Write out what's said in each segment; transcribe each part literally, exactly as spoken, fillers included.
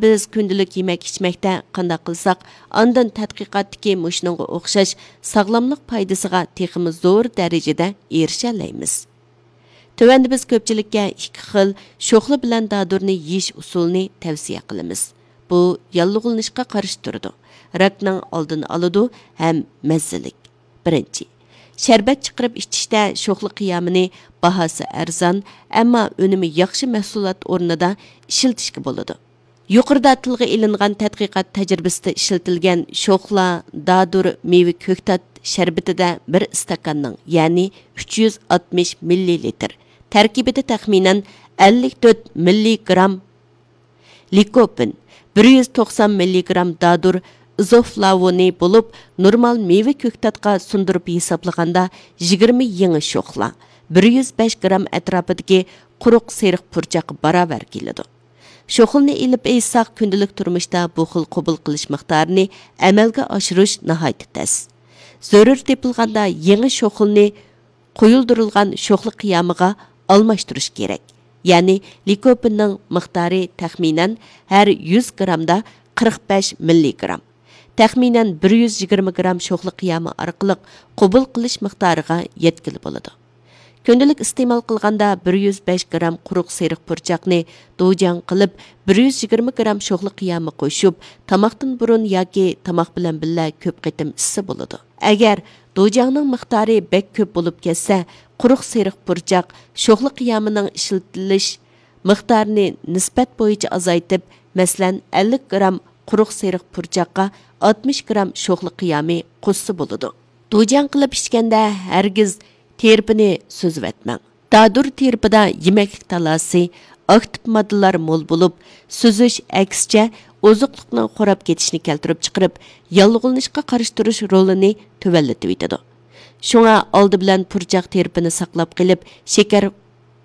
بىز كۈندىلىك يېمەك-ئىچمەكتە قانداق قىلساق، ئاندىن تەتقىقاتتىكى مۇشۇنىڭغا ئوخشاش ساغلاملىق پايدىسىغا تېخىمۇ زور دەرىجىدە ئېرىشەلەيمىز. تۆۋەندە بىز كۆپچىلىككە ئىككى خىل شوخلا بىلەن دادۇرنى يېيىش ئۇسۇلىنى تەۋسىيە قىلىمىز. بۇ ياللۇغلىنىشقا قارشى تۇرىدۇ، راكنىڭ ئالدىنى ئالىدۇ ھەم مەززىلىك. بىرىنچى، شەربەت چىقىرىپ ئىچىشتە شوخلا قىيامىنى باھاسى ئەرزان، ئەمما ئۈنۈمى ياخشى مەھسۇلات ئورنىدا ئىشلىتىشكە بولىدۇ. يۇقىرىدا تىلغا ئېلىنغان تەتقىقات تەجرىبىسىدە ئىشلىتىلگەن شوخلا، دادۇر، مېۋە كۆكتات شەربىتىدە بىر ئىستاكاننىڭ، يەنى ئۈچ يۈز ئاتمىش مىللىلىتىر تەركىبىدە تەخمىنەن ئەللىك تۆت مىللىگرام لىكوپىن، بىر يۈز توقسان مىللىگرام دادۇر ئىزوفلاۋونى بولۇپ، نورمال مېۋە كۆكتاتقا سۇندۇرۇپ ھېسابلىغاندا، يىگىرمە يېڭى شوخلا، بىر يۈز بەش گرام ئەتراپىدىكى قۇرۇق سېرىق پۇرچاققا باراۋەر كېلىدۇ. شوخلىنى ئېلىپ ئېيتساق، كۈندىلىك تۇرمۇشتا بۇ خىل قوبۇل قىلىش مىقدارىنى ئەمەلگە ئاشۇرۇش ناھايىتى تەس. زۆرۈر تېپىلغاندا يېڭى شوخلىنى قويۇلدۇرۇلغان شوخلا قىيامىغا ئالماشتۇرۇش كېرەك. يەنى لىكوپىننىڭ مىقدارى تەخمىنەن ھەر يۈز گرامدا قىرىق بەش مىللىگرام، تەخمىنەن بىر يۈز يىگىرمە گرام شوخلا قىيامى ئارقىلىق قوبۇل قىلىش مىقدارىغا يەتكىلى بولىدۇ. كۈندىلىك ئىستېمال قىلغاندا بىر يۈز بەش گرام قۇرۇق سېرىق پۇرچاقنى دوجياڭ قىلىپ، بىر يۈز يىگىرمە گرام شوخلا قىيامى قوشۇپ، تاماقتىن بۇرۇن ياكى تاماق بىلەن بىللە كۆپ قېتىم ئىچسە بولىدۇ. ئەگەر دوجياڭنىڭ مىقدارى بەك كۆپ بولۇپ كەتسە، قۇرۇق سېرىق پۇرچاق شوخلا قىيامىنىڭ ئىشلىتىلىش مىقدارىنى نىسبەت بويىچە ئازايتىپ، مەسىلەن، ئەللىك گرام قۇرۇق سېرىق پۇرچاققا ئاتمىش گرام شوخلا قىيامى قوشسا بولىدۇ. دوجياڭ قىلىپ ئىچكەندە ھەرگىز تىرپىنى سۈزۈۋەتمەڭ. دادۇر تىرپىدا يېمەكلىك تالاسى، ئاكتىپ ماددىلار مول بولۇپ، سۈزۈش ئەكسىچە ئوزۇقلۇقنىڭ خوراپ كېتىشىنى كەلتۈرۈپ چىقىرىپ، ياللۇغلىنىشقا قارشى تۇرۇش رولىنى تۆۋەنلىتىۋېتىدۇ. شۇڭا ئالدى بىلەن پۇرچاق تىرپىنى ساقلاپ قېلىپ، شېكەر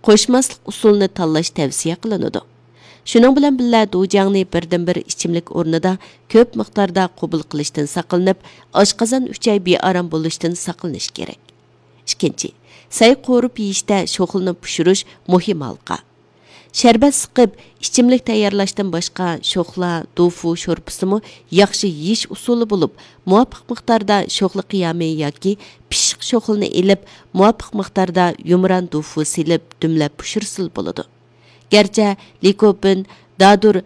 قوشماسلىق ئۇسۇلىنى تاللاش تەۋسىيە قىلىنىدۇ. شۇنىڭ بىلەن بىللە، دوجياڭنى بىردىنبىر ئىچىملىك ئورنىدا كۆپ مىقداردا قوبۇل قىلىشتىن ساقلىنىپ، ئاشقازان ئۈچەي بىئارام بولۇشتىن ساقلىنىش كېرەك. ئىككىنچى، سەي قورۇپ يېيىشتە شوخلىنى پىشۇرۇش مۇھىم ھالقا. شەربەت سىقىپ، ئىچىملىك تەييارلاشتىن باشقا، شوخلا، دوفۇ شورپىسىمۇ ياخشى يېيىش ئۇسۇلى بولۇپ، مۇۋاپىق مىقداردا شوخلا قىيامى ياكى پىششىق شوخلىنى ئېلىپ، مۇۋاپىق مىقداردا يۇمران دوفۇ سېلىپ، دۈملەپ پىشۇرسىلا بولىدۇ. گەرچە لىكوپىن، دادۇر،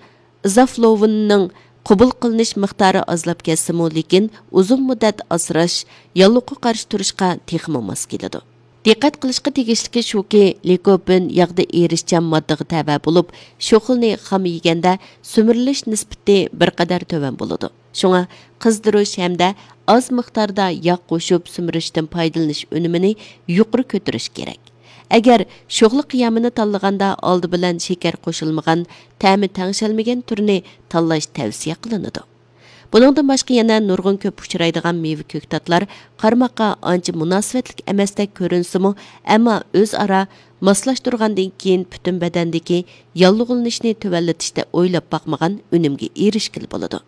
ئىزافلوۋىننىڭ قوبۇل قىلىنىش مىقدارى ئازلاپ كەتسىمۇ، لېكىن ئۇزۇن مۇددەت ئاسراش ياللۇغقا قارشى تۇرۇشقا تېخىمۇ ماس كېلىدۇ. دىققەت قىلىشقا تېگىشلىكى شۇكى، لىكوپىن ياغدا ئېرىشچان ماددىغا تەۋە بولۇپ، شوخلىنى خام يېگەندە سۈمۈرۈلۈش نىسبىتى بىر قەدەر تۆۋەن بولىدۇ. شۇڭا قىزدۇرۇش ھەمدە ئاز مىقداردا ياغ قوشۇپ سۈمۈرۈشتىن پايدىلىنىش ئۈنۈمىنى يۇقىرى كۆتۈرۈش كېرەك. ئەگەر شوخلا قىيامىنى تاللىغاندا، ئالدى بىلەن شېكەر قوشۇلمىغان، تەمى تەڭشەلمىگەن تۈرنى تاللاش تەۋسىيە قىلىنىدۇ. بۇنىڭدىن باشقا يەنە نۇرغۇن كۆپ ئۇچرايدىغان مېۋە كۆكتاتلار قارىماققا ئانچە مۇناسىۋەتلىك ئەمەستەك كۆرۈنسىمۇ، ئەمما ئۆزئارا ماسلاشتۇرغاندىن كېيىن پۈتۈن بەدەندىكى ياللۇغلىنىشنى تۆۋەنلىتىشتە ئويلاپ باقمىغان ئۈنۈمگە ئېرىشكىلى بولىدۇ.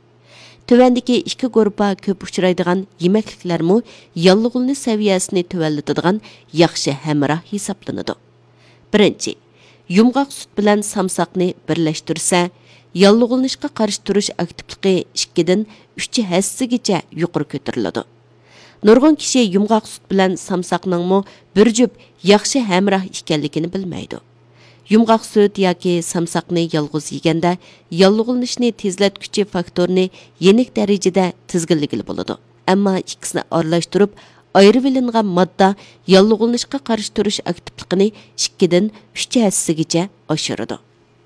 تۆۋەندىكى ئىككى گۇرۇپپا كۆپ ئۇچرايدىغان يېمەكلىكلەرمۇ ياللۇغلىنىش سەۋىيەسىنى تۆۋەنلىتىدىغان ياخشى ھەمراھ ھېسابلىنىدۇ. بىرىنچى، يۇمغاق سۈت بىلەن سامساقنى بىرلەشتۈرسە، ياللۇغلىنىشقا قارشى تۇرۇش ئاكتىپلىقى ئىككىدىن ئۈچ ھەسسىگىچە يۇقىرى كۆتۈرۈلىدۇ. نۇرغۇن كىشى يۇمغاق سۈت بىلەن سامساقنىڭمۇ بىر جۈپ ياخشى ھەمراھ ئىكەنلىكىنى بىلمەيدۇ. يۇمغاق سۈت ياكى سامساقنى يالغۇز يېگەندە، ياللۇغلىنىشنى تېزلەتكۈچى فاكتورنى يېنىك دەرىجىدە تىزگىنلىگىلى بولىدۇ. ئەمما ئىككىسىنى ئارىلاشتۇرۇپ ئايرىۋېلىنغان ماددا ياللۇغلىنىشقا قارشى تۇرۇش ئاكتىپلىقىنى ئىككىدىن ئۈچ ھەسسىگىچە ئاشۇرىدۇ.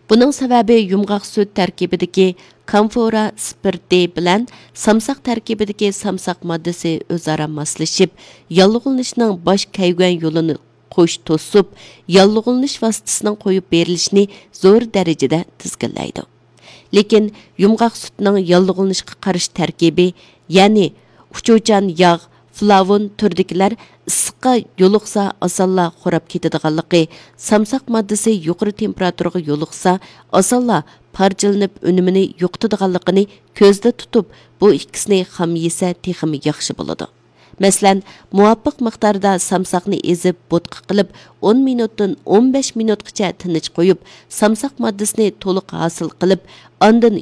بۇنىڭ سەۋەبى يۇمغاق سۈت تەركىبىدىكى كامفورا سپىرتى بىلەن سامساق تەركىبىدىكى سامساق ماددىسى ئۆزئارا ماسلىشىپ، ياللۇغلىنىشنىڭ باش كەيگۈەن يولىنى قوش توسۇپ، ياللۇغلىنىش ۋاسىتىسىنىڭ قويۇپ بېرىلىشىنى زور دەرىجىدە تىزگىنلەيدۇ. لېكىن يۇمغاق سۈتنىڭ ياللۇغلىنىشقا قارشى تەركىبى، يەنى ئۇچۇچان ياغ، فلاۋون تۈرىدىكىلەر ئىسسىققا يولۇقسا ئاسانلا خوراپ كېتىدىغانلىقى، سامساق ماددىسى يۇقىرى تېمپېراتۇرىغا يولۇقسا ئاسانلا پارچىلىنىپ ئۈنۈمىنى يوقىتىدىغانلىقىنى كۆزدە تۇتۇپ، بۇ ئىككىسىنى خام يېسە تېخىمۇ ياخشى بولىدۇ. مەسىلەن، مۇۋاپىق مىقداردا سامساقنى ئېزىپ بوتقا قىلىپ، ئون مىنۇتتىن ئون بەش مىنۇتقىچە تىنچ قويۇپ، سامساق ماددىسىنى تولۇق ھاسىل قىلىپ، ئاندىن